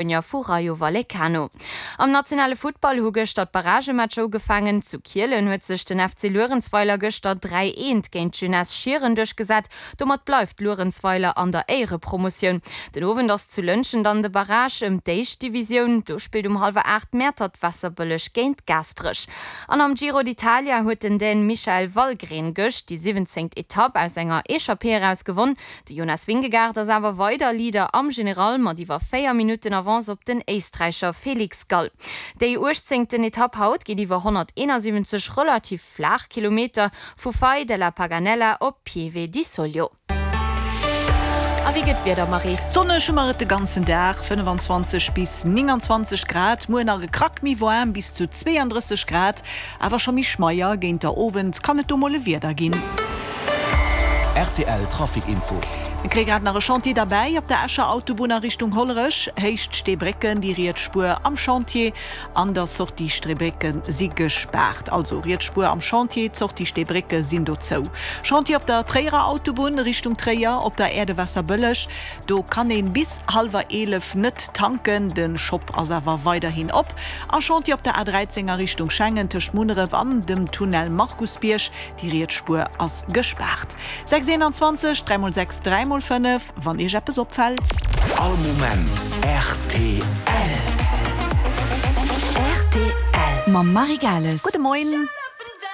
Spuenier vu Rayo Vallecano. Am nationale Futtball hu gëschter d'Barragematcher ugefaangen. Zu Kielen huet sech den FC Luerenzweiler gëschter 3, 1 géint d'Jeunesse Schieren duerchgesat. Domat bleift Luerenzweiler an der Éierepromotioun. Den Owend ass zu Lëntgen dann de Barrage ëm d'éischt Divisioun. Do spillt um hallwer 8 Mäertert-Waasserbëlleg géint Gaasperech. An am Giro d'Italia huet den Dän Michael Valgren gëscht déi 17. Etapp aus enger Echappée eraus gewonn. De Jonas Vingegaard ass awer weider Leader am General mat iwwer 4 Minutten Avance op den Éisträicher Felix Gall. Déi uechtzéngten Etapp haut geet iwwer 171 relativ flaach Kilometer vu Fai della Paganella op Pieve di Soglio. A wéi gëtt d'Wieder, Marie? Sonneg hu mer et de ganzen Dag, 25 bis 29 Grad, muer nach e Krack méi waarm, bis zu 32 Grad. Awer scho méi schmeier, géint der Owend kann et do mol e Wieder ginn. Rtl Trafic Info. Mir kréie grad nach e Chantier derbäi op der Escher Autobunn a Richtung Hollerech, Héicht Steebrécken. Déi riets Spuer am Chantier an der Sortie Streebrécke si gespaart. Also riets Spuer am Chantier, d'Sortie Steebrécke sinn do zou. Chantier op der Tréierer Autobunn Richtung Tréier op der Aire de Waasserbëlleg. Do kann een bis hallwer 11 net tanken, den Shop ass awer weiderhin op. A Chantier op der A13 a Richtung Schengen tëscht Munneref an dem Tunnel Markusbierg, déi riets Spuer ass gespaart. 6 21 3 mol 6 3 mol 5 wann iech eppes opfällt. All Moment rtl. Rtl mam Marie Gales. Gudde Moien.